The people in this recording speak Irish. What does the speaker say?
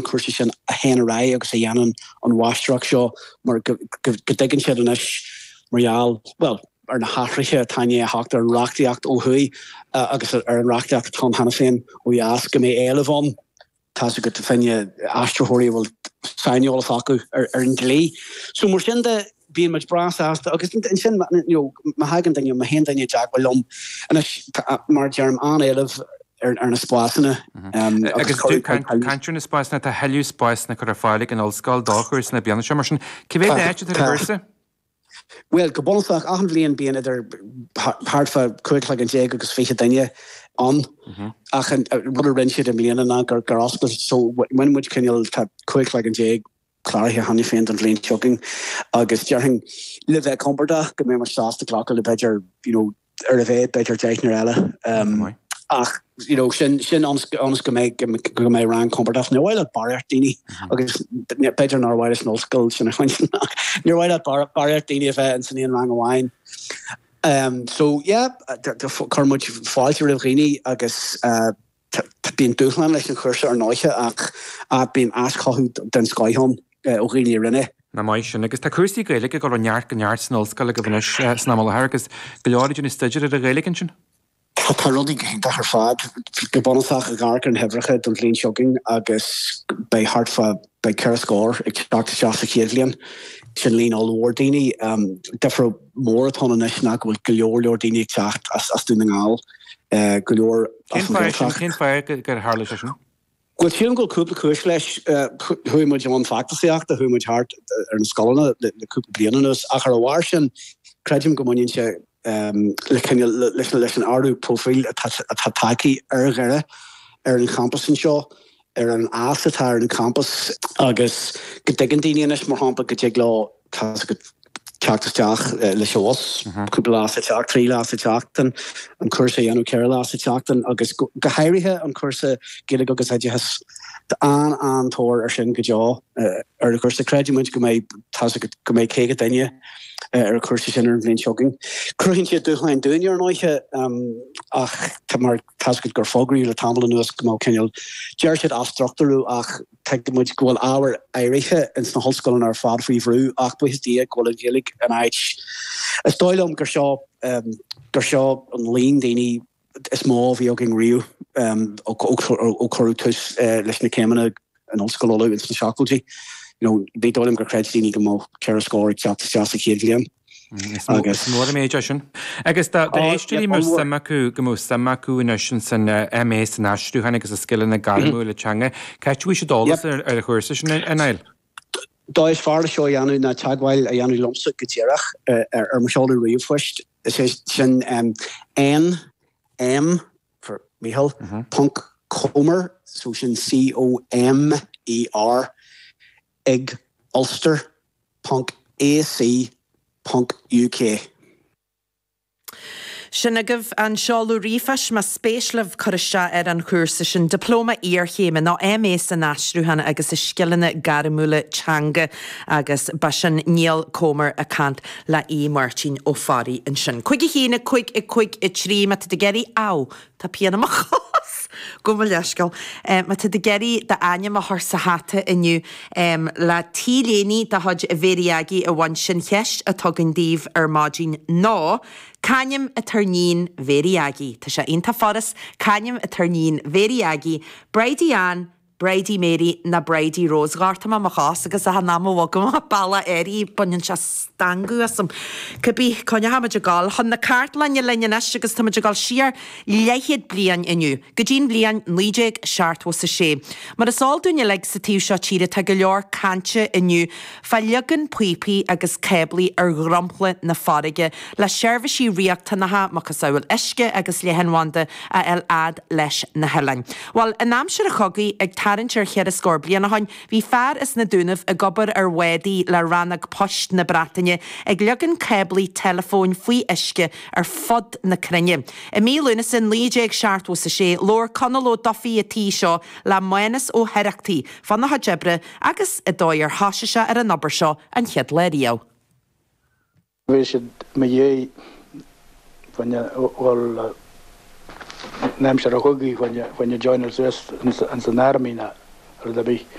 chúrsa sin a théann ar aghaidh agus a dhéanann an mháistreacht seo mar go dtuigeann siad anois mar gheall, bhuel, ar na hathruithe atá i ndiaidh a theacht ar an reachtaíocht ó thuaidh agus ar an reachtaíocht atá ann cheana féin ó dheas go mbeidh éileamh ann, tá's agat, fá choinne aistritheoirí a bhfuil saineolas acu ar an dlí. So mar sin de, bíonn muid breá sásta agus ansin you know má thagann duine, má théann duine i dteagmháil liom anois, tá, mar a deirim, an-éileamh ar na spásanna agus caint ar na spásanna, tá thuilleadh spásanna curtha ar fáil ag an ollscoil do chúrsa na bliana seo, mar sin cé mhéad áit atá ar an gcúrsa? Bhuel, go bunúsach, achan bhliain bíonn idir thart fá 15 cloigeann agus 20 duine ann. Ach an rud a rinne siad i mbliana ná gur oscail, so bhain muid cineál, tá 15 cloigeann cláraithe cheana féin don bhliain seo chugainn agus déarfainn le bheith compordach go mbeidh muid sásta glacadh le b'fhéidir, you know, ar a mhéad b'fhéidir deichniúr eile. Ach you know sin sin ionas ionas go mbeidh go mbeidh rang compordach. Níor mhaith leat barraíocht daoine agus b'fhéidir nár mhaith leis an ollscoil sin a chluinstin ach níor mhaith leat barraíocht daoine a bheith in san aon rang amháin. So yeah, chuir muid fáilte roimh dhaoine agus bíonn dúshlán leis an chúrsa ar ndóiche ach bíonn aischothú den scoith ann ó dhaoine a rinne. Nach maith sin. Agus tá cúrsaí Gaeilge ag dul ó neart go neart san ollscoil agaibh anois san am i láthair agus go leor ag déanamh staidéir ar an Ghaeilge ansin. Tá rudaí go hiontach ar fad. Go bunúsach, ag amharc ar na huimhreacha don bhliain seo chugainn agus beidh thart fá, beidh 4 scór ag teacht isteach sa chéad bhliain. Sin líon ollmhór daoine. Difear mór atá ann anois ná go bhfuil go leor leor daoine ag teacht as Dún na nGall, go leor as an Ghaeltacht. Cén fáth gur tharla sé sin? Bhuel, sílim go bhfuil cúpla cúis leis. Chuaigh muid i mbun feachtasaíochta, chuaigh muid thart ar na scoileanna le cúpla bliain anuas, ach ar a bharr sin, creidim go mbaineann sé le cineál, leis an ardú próifíl atá tagtha ar Dhoire, ar an champas anseo, ar an fhás atá ar an champas agus go dtuigeann daoine anois, mar shampla, go dtig leo, tá's agat, teacht isteach leis an bhus cúpla lá sa tseachtain, 3 lá sa tseachtain, an cúrsa a dhéanamh 4 lá sa tseachtain agus go háirithe an cúrsa Gaeilge agus Oideachas. Tá an-an-tóir ar sin go deo ar an chúrsa. Creideann muid go mbeidh, tá's agat, go mbeidh 50 duine ar an chúrsa sin ar an bhliain seo chugainn. Cruthaíonn sé dúshláin dúinne ar ndóiche ach tá mar, tá's agat gur fógraíodh le tamall anuas go mbeadh cineál, deir siad athstruchtúrú ach, Tuigeann muid go bhfuil ábhair áirithe ins na hollscoileanna ar fad faoi bhrú ach buíochas Dia go bhfuil an Ghaeilge in áit. Is dóigh liom gur seo gur seo an líon daoine is mó a bhí againn riamh ó cuireadh tús leis na céimeanna in Ollscoil Uladh ins na seachtóidí. You know, ní dóigh liom gur chreid daoine go mbeadh 4 scór ag teacht isteach sa chéad bhliain. Is mór an méid é sin. Agus do d'éisteoirí a mbeadh suim acu, go mbeadh suim acu anois in san MA san aistriúchán agus i scileanna gairmiúla teanga, cá háit a bhfaighidh siad eolas ar an chúrsa sin, a Niall? Dóigh is fearr le seo a dhéanamh ná teagmháil a dhéanamh liomsa go díreach ar mo sheoladh ríomhphoist. Is é sin N M for Mícheál, ponc Comer, so sin C O M E R, ag Ulster ponc AC ponc UK. Sin agaibh an seoladh ríomhphoist más spéis libh cur isteach ar an chúrsa sin, Dioplóma Iarchéime nó MA san Aistriúchán agus i Scileanna Gairmiúla Teanga agus ba sin Niall Comer ag caint le Aodh Máirtín Ó Fearraigh ansin. 5 1 5 5 3 má tá tú ag iarraidh, Á! Tá pian i mo chos! Gabh mo leithscéal. Má tá tú ag iarraidh d'ainm a chur sa hata inniu le T-léine de chuid Mhéirí Aggie a bhaint, sé'n cheist atá againn daoibh ar maidin ná, C'ainm atá ar níon Mhéirí Aggie? Tá sé iontach furast, c'ainm atá ar níon Mhéirí Aggie? Bridie Ann, Bridie Mary ná Bridie Rose. Ghortaigh mé mo chos agus achan am a bhogaim bealach áirithe baineann sé stangadh asam. Cibé, coinneochaimid ag dul chun na cartlainne linn anois agus táimid ag dul siar leathchéad bliain inniu, go dtí'n bhliain 1976. Mar is eol dúinn uilig sa taobh seo tíre tá go leor cainte inniu fá leagan píopaí agus cáblaí ar dhromchla na farraige le seirbhísí riachtanacha, macasamhail uisce agus leathanbhanda, a fháil fhad leis na hoileáin. Bhuel, in aimsir an chogaidh, ag tarraingt ar cheithre scór bliain ó shoin, bhí fear as na Dúnaibh ag obair ar bhádaí le Rannóg Poist na Breataine ag leagan cáblaí teileafóin faoi uisce ar fud na cruinne. I mí Lúnasa 1976, labhair Conall Ó Dufaigh an tí seo le Mánus Ó hOireachtaigh fána chuid oibre agus an dóigh ar thoisigh sé ar an obair seo an chéad lá riamh. Bhí siad i mo dhiaidh fá choinne dhul in aimsir an chogaidh fá choinne joineáil suas ins an army ná. rud ar bith.